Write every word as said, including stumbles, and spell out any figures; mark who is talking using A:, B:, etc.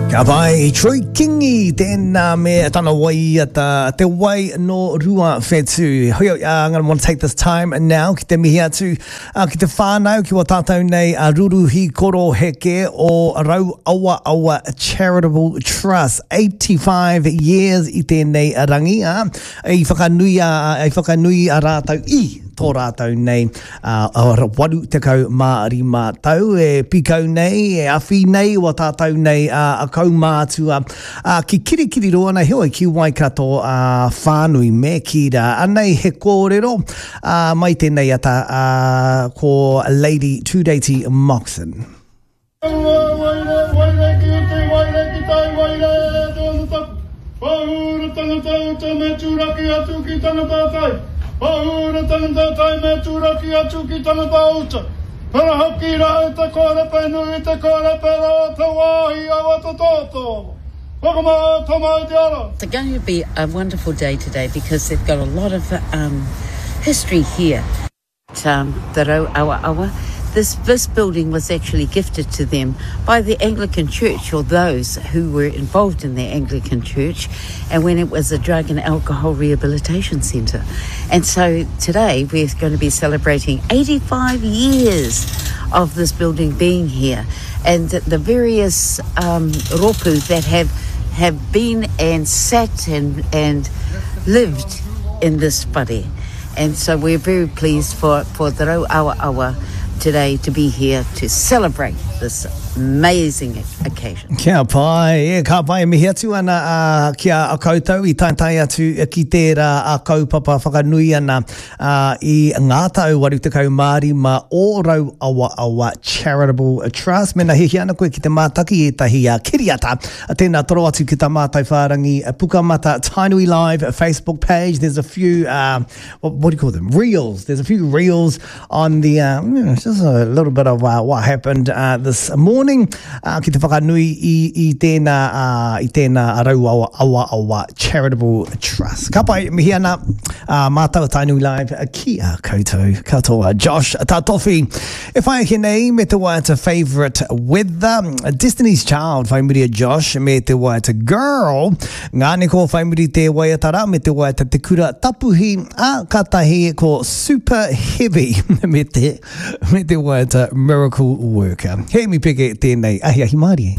A: Ka pai, Troy Kingi, tēnā me tana waiata, te wai no Rua Whetū. Hoi, uh, I'm going to want to take this time now ki te mihi atu uh, ki te whānau, ki wa tātou nei a Ruruhi Koro Heke o Rau Awa Awa Charitable Trust. eighty-five years i tēnei rangi, uh, i whakanui a, i whakanui a rātou i tō rātou nei uh, waru tekau mā rima tau e pikau nei, e awhi nei, wa tātou nei uh, a kaumātua uh, ki Kirikiriroa na heoi ki Waikato uh, whānui me kira. Anei he kōrero uh, mai tēnei ata uh, ko Lady Tureiti Moxon.
B: Waire, waire ki te waire ki tai waire te ono tapu. Pahura tangata uta me tūraki atu ki tangata tai. Pahura tangata tai me tūraki atu ki tangata uta. Pera hoki rā te kōrepe nui te kōrepe rā te wāhi awa te tōtō. Whakamā tamai te ara.
C: It's going to be a wonderful day today because they've got a lot of um, history here. Um, the Rau Awa Awa. This, this building was actually gifted to them by the Anglican Church, or those who were involved in the Anglican Church, and when it was a drug and alcohol rehabilitation centre. And so today we're going to be celebrating eighty-five years of this building being here, and the various um, ropu that have, have been and sat and, and lived in this whare. And so we're very pleased for, for the Rau Awa Awa today to be here to celebrate this amazing occasion.
A: Kia pai, e, ka pai, mihi atu ana uh, ki a koutou i taetae atu ki tērā a kaupapa whakanui ana uh, i ngā tau waru tekau mā rima o Rau Awa Awa Charitable Trust. Mena hihi ana koe ki te mātaki e tahi a kiriata. Tēnā toro atu ki tā mātou whārangi Pukamata Tainui Live Facebook page. There's a few, uh, what, what do you call them? Reels. There's a few reels on the, uh, you know, just a little bit of uh, what happened uh, this morning uh, ki te whakanui i, i tēnā, uh, i tēnā Rau Awa Awa Awa Charitable Trust. Ka pai, mihi ana uh, mātou Tainui Live ki a koutou katoa. Josh Tatofi, e whai ake nei me te waiata Favourite Weather, Destiny's Child whai muri a Josh me te waiata Girl, ngā neko whai muri te waiata rā me te waiata Te Kura Tapuhi, a katahi ko Super Heavy me te, me te waiata Miracle Worker. He mi peke tēnei ahi ahi mārie.